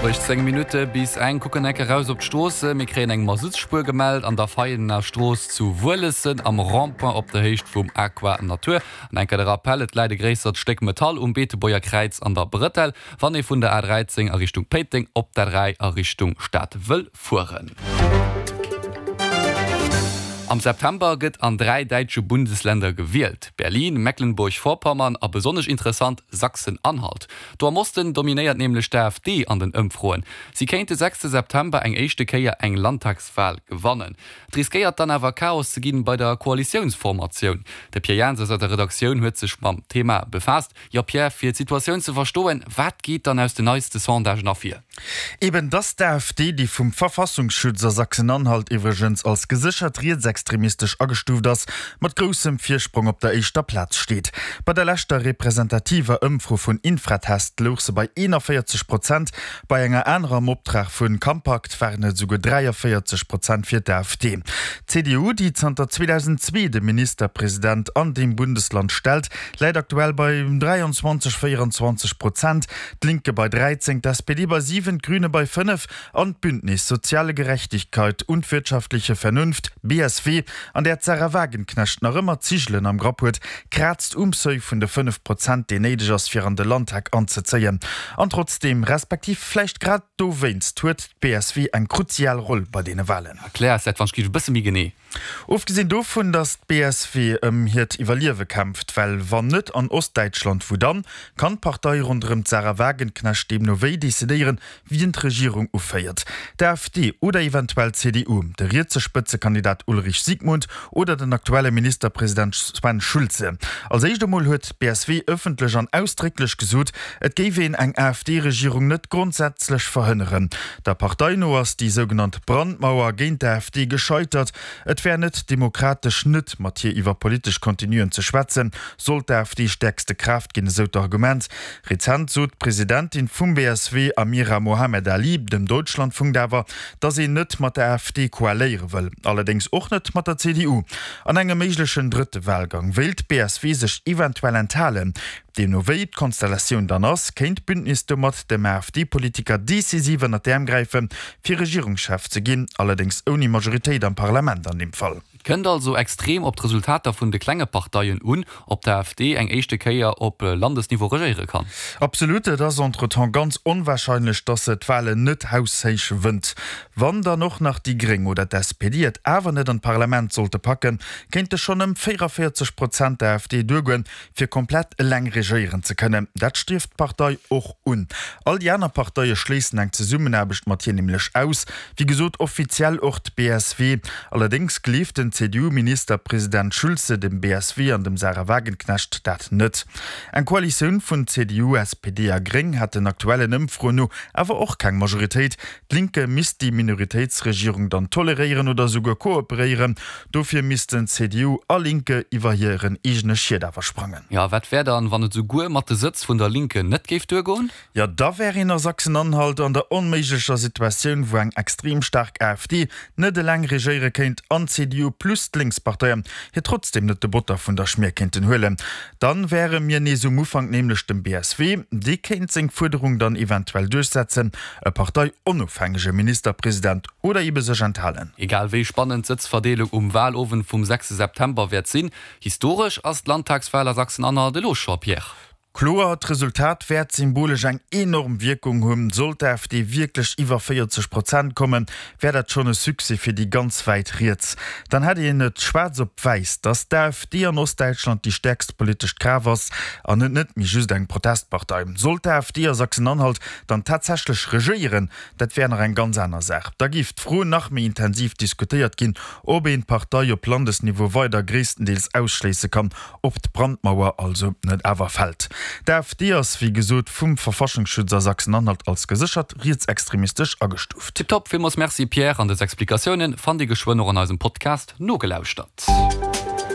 18 Minutte bis eng, kucken enk eraus op d'Stroosse. Mir kréien eng Masuttsspuer gemellt an der Veianer Strooss zu Wuelessen am Rond-point op der Héicht vum Aqua Natur. An enker de Rappel, Et läit e gréissert Stéck Metall um Beetebuerger Kräiz an der Brëtell, wann ee vun der A13 a Richtung Péiteng op d'A3 a Richtung Stad wëll fueren. Am September gëtt an 3 däitsche Bundesländer gewielt, Berlin, Mecklenburg-Vorpommern a besonnesch interessant, Sachsen-Anhalt. Do am Osten dominéiert nämlech d'AfD an den Ëmfroen. Si kéint de sechste September eng éischte Kéier eng Landtagswal gewannen. Et riskéiert dann awer Chaos ze ginn bei der Koalitiounsformatioun. De Pierre Jans aus der Redaktioun huet sech mam Thema befaasst. Jo Pierre, fir d'Situatioun ze verstoen, wat geet dann aus den neiste Sondagen ervir? Eben dass d'AfD, déi vum Verfassungsschutz a Sachsen-Anhalt iwwregens als geséchert rietsextremistesch agestuuft ass, mat groussem Virsprong op der éischter Plaz steet. Bei der leschter representativer Ëmfro vun Infratest louch se bei 41 Prozent, bei enger anerer am Optrag vu Campact waren et esouguer 43 Prozent fir d'AfD. D'CDU, déi zanter 2002 de Ministerpresident an deem Bundesland stellt, läit aktuell bei 23, 24 Prozent, d'Linke bei 13, d'SPD bei 7, d'Grüne bei 5 an d'Bündnis Soziale Gerechtigkeit und wirtschaftliche Vernunft, BSW, an där d'Sahra Wagenknecht nach ëmmer d'Zigelen am Grapp huet, kraazt um Seuil vun de 5 Prozent, deen néideg ass, fir an de Landtag anzezéien. An trotzdeem, respektiv vläicht grad dowéinst, huet d'BSW eng kruzial Roll bei deene Walen. Erklär eis dat wann ech géif e bësse méi genee. Ofgesinn dovun, datt d'BSW ëm hiert Iwwerliewe kämpft, well wann net an Ostdäitschland, wou dann, kann d'Partei ronderëm d'Sahra Wagenknecht deemno wéi decidéieren, wien d'Regierung uféiert, d'AfD oder eventuell d'CDU, de rietse Spëtzekandidat Ulrich Siegmund oder den aktuelle Ministerpresident Sven Schulze. Als éischt emol huet d'BSW ëffentlech an ausdrécklech gesot, et géif een eng AfD-Regierung net grondsätzlech verhënneren. Der Partei no ass déi sougenannt Brandmauer géint d'AfD gescheitert. Et wär net demokratesch, net mat hir iwwer politesch Contenuen ze schwätzen, sollt d'AfD stäerkste Kraaft ginn, esou d'Argument. Rezent sot d'Presidentin vum BSW Amira Mohamed Ali dem Deutschlandfunk awer, datt een net mat der AfD koaléiere wëll, allerdéngs och net mat der CDU. An engem méiglechen drëtte Walgang wéilt d'BSW sech eventuell enthalen. Deemno wéi d'Konstellatioun dann ass, kéint d'Bündnis domat dem AfD-Politiker decisiv ënnert d'Äerm gräifen, fir Regierungschef ze ginn, allerdéngs ouni Majoritéit am Parlament an deem Fall. Et kënnt also extrem op d'Resultater vun de klenge Parteien un, ob d'AfD eng éischte Kéier op Landesniveau regéiere kann. Absolut, et ass entretemps ganz onwahrscheinlech, dass se d'Wahlen net haushéich wënnt. Wann dann och nach déi Gréng oder d'SPD et awer net an d'Parlament sollte packen, kéinte schonn ëm 44 Prozent der AfD duergoen, fir komplett eleng regéieren ze kënnen. Dat strieft d'Partei och un. All déi aner Parteie schléissen eng Zesummenaarbecht mat hir nämlech aus. Wéi gesot offiziell och d'BSW. Allerdéngs gleeft den CDU-Ministerpresident Schulze dem BSW an dem Sahra Wagenknecht dat net. Eng Koalitioun vun CDU, SPD a Gréng hätt den aktuellen Ëmfroen no awer och keng Majoritéit. D'Linke misst déi Minoritéitsregierung dann toleréieren oder esouguer kooperéieren. Dofir missten CDU a Linke iwwer hiren eegene Schiet awer sprangen. Jo, wat wär dann, wann et esouguer mat de Sëtz vun der Linke net géif duergoen? Jo, da wär een a Sachsen-Anhalt an der onméiglecher Situatioun, wou eng extrem staark AfD net eleng regéiere kéint an d'CDU plus d'Lénksparteien hir trotzdeem net de Botter vun der Schmier kéinten huelen. Dann wäre mir nees um Ufank, nämlech dem BSW. Dee kéint seng Fuerderung dann eventuell duerchsetzen, e parteionofhängege Ministerpresident oder ebe sech enthalen. Egal wéi spannend d'Sëtzverdeelung um Walowend vum 6 September wäert sinn, historesch ass d'Landtagswal a Sachsen-Anhalt elo scho, Pierre. Kloer, d'Resultat wäert symbolesch eng enorm Wierkung hunn. Sollt d'AfD wierklech iwwer 40 Prozent kommen, wär dat schonn e Succès fir déi ganz wäit riets. Dann hätt een et schwaarz op wäiss, datt d'AfD an Ostdäitschland déi stäerkst politescht Kraaft ass an et net méi just eng Protestpartei. Sollt d'AfD a Sachsen-Anhalt dann tatsächlech regéieren, dat wär nach eng ganz aner Saach. Da géif d'Fro nach méi intensiv diskutéiert ginn, ob een d'Partei op Landesniveau weider gréisstendeels ausschléisse kann, ob d'Brandmauer also net awer fält. D'AfD ass, wéi gesot, vum Verfassungsschutz a Sachsen-Anhalt als geséchert rietsextremistesch agestuuft. Tiptop, villmools Merci Pierre, an dës Explikatiounen fannt Dir geschwënn och an eisem Podcast nogelauschtert.